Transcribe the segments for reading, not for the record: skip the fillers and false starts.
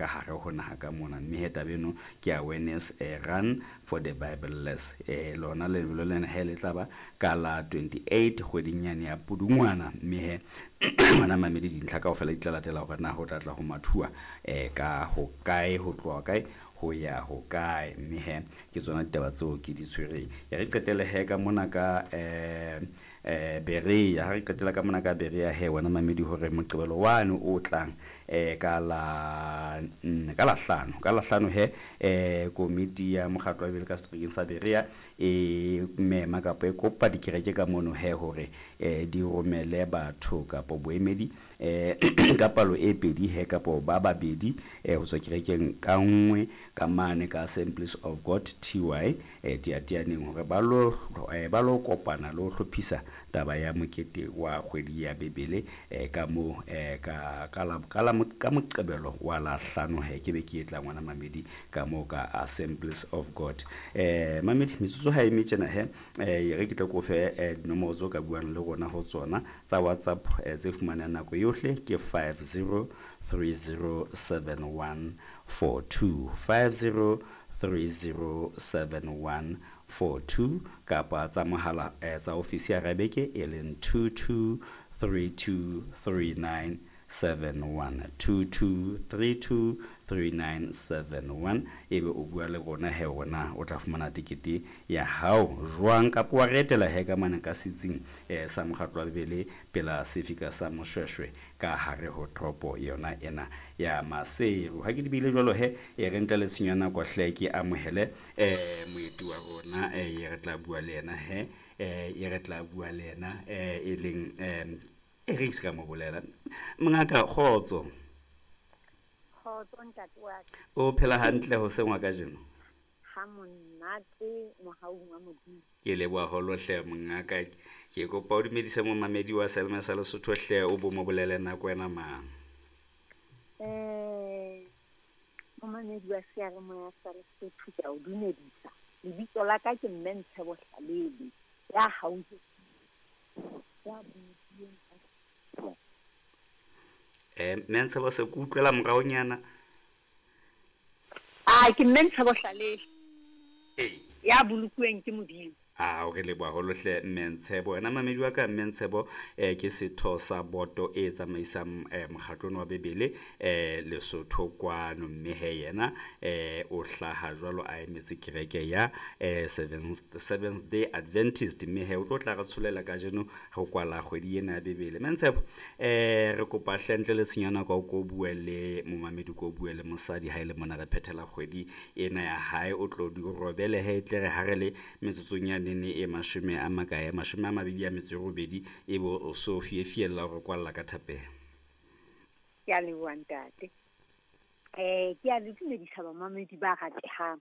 ka hare ho naha ka mona. Mme he taba eno ke awareness run for the Bibleless. Lona lebelo lena he le tla ba ka la 28 kgweding yane ya Pudungwana. Mme he wena mamedi dintlha kaofela di tla latela hore na ho tla tla ho mathuwa ka ho kae, ho tloha kae ho ya ho kae. Mme he ke tsona ditaba tseo ke di tshwereng. E re qetele he ka mona ka Berea. Ha re qetela ka mona ka Berea he wena mamedi hore Moqebelo wane o tlang ka la nne, ka la hlano, ka la hlano he komiti ya mokgatlo wa Bibele ka seterekeng sa Berea e mema kapa e kopa dikereke ka mono he hore di romele batho kapo boemedi ka palo e pedi he kapo ba babedi ho tswa kerekeng ka nngwe ka mane ka Assemblies of God TY Teatianeng hore ba lo ba lo kopana le ho hlophisa taba ya mokete wa kgwedi ya Bibele ka mo ka ka la ka la ka Moqebelo wa la hlano he ke be ke etla ngwana mamedi ka mo ka Assemblies of God. Mamedi metsotso ha e metjena he re ke tle ko fe dinomoro tseo ka buang le rona ho tsona tsa WhatsApp tse fumanang nako yohle ke 50307142, 50307142, kapa tsa mohala tsa ofisi ya Rabeke e leng 22323971, 22323971. Ebe o bua le rona he rona o tla fumana tekete ya hao jwang kapa wa re etela he ka mane ka setsing sa mokgatlo wa Bibele pela sefika sa Moshweshwe ka hare ho toropo yona ena ya Maseru. Ha ke di bile jwalo he e re ntle le tshenyo ya nako hle ke amohele moeti wa rona e re tla bua le yena he e re tla bua le yena e leng e re se ka mo bolela. Mongaka, kgotso. Kgotso ntate wa ka. O phela hantle ho sengwa kajeno? Ha monate mohaung wa Modimo. Ke leboha haholo hle mongaka. Ke kopa o dumedise momamedi wa Selma sa Lesotho hle, o bo mo bolele nako ena mang. Momamedi wa seyalemoya sa Lesotho, ke a o dumedisa. Lebitso la ka ke Mme Ntshebo Hlalele ya haufi ya bolokileng. Mme Ntshebo, se ke utlwela moraonyana. Ah, ke Mme Ntshebo Hlalele ya bolokuweng ke Modimo. A o re leboha haholo hle Mme Ntshebo. Wena mamedi wa ka, Mme Ntshebo ke setho sa boto e tsamaisang mokgatlong wa Bibele Lesotho kwano. Mme he yena o hlaha jwalo a emetse kereke ya Seventh Day Adventist. Mme he o tlo tla re tsholela kajeno ho kwala kgwedi ena ya Bibele. Mme Ntshebo, re kopa hle ntle le tshenyo ya nako o ko bue le momamedi, ko bue le mosadi ha e le mona re phethela kgwedi ena ya hae, o tlo di robele he tle re ha re le metsotsong ya nene e mashome a makae, 28, e bo o so fiefiella hore kwalla ka thapelo. Ke a leboha ntate. Ke a le dumedisa bamamedi ba ratehang.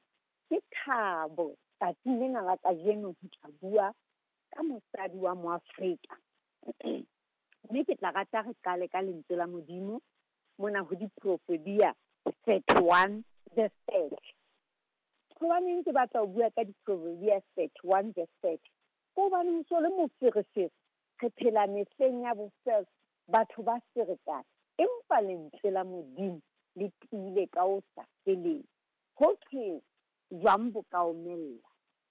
Ke thabo tsatsing lena la kajeno ho tla bua ka mosadi wa Moafrika. Mme ke tla rata re qale ka lentswe la Modimo mona ho Diproverbia 31 verse 30. Hobaneng ke batla ho bua ka Diproverbia 31 verse 30? Ke hobane ho so le moferefere, re phela mehleng ya bofelo, batho ba ferekana, empa lentswe la Modimo le tiile ka ho sa feleng. Ho thwe jwang bo ka omella,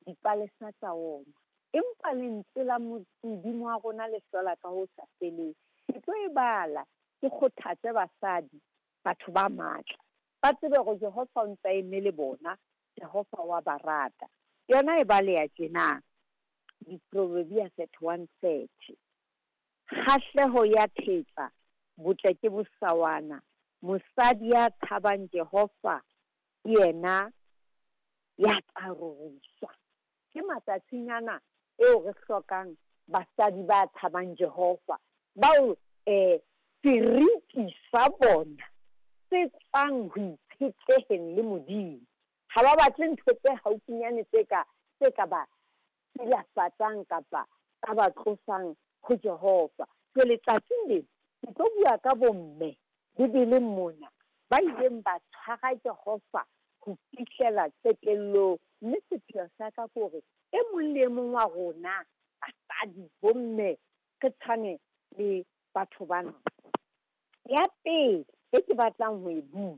dipalesa tsa oma, empa lentswe la Modimo wa rona le hlola ka ho sa feleng. Ke tlo e bala, ke kgothatse basadi, batho ba matla, ba tsebe hore Jehova o ntse a eme le bona, Jehova wa ba rata. Yona e baleha tjena, Diproverbia 31:30. Kgahleho ya thetsa, botle ke bosawana. Mosadi ya tshabang Jehova ke yena ya tla roriswa. Ke matsatsing ana eo re hlokang basadi ba tshabang Jehova, bao seriti sa bona se tswang ho itshetleheng le Modimo. Ha ba batle ntho tse haufinyane tse ka ba silafatsang kapa tsa ba tlosang ho Jehova. Jwale tsatsing lena ke tlo bua ka bomme Bibeleng mona ba ileng ba tshwara Jehova ho fihlela qetellong. Mme sepheo sa ka ke hore e mong le e mong wa rona basadi, bomme, re tshwane le batho bana. Ya pele e ke batlang ho e bua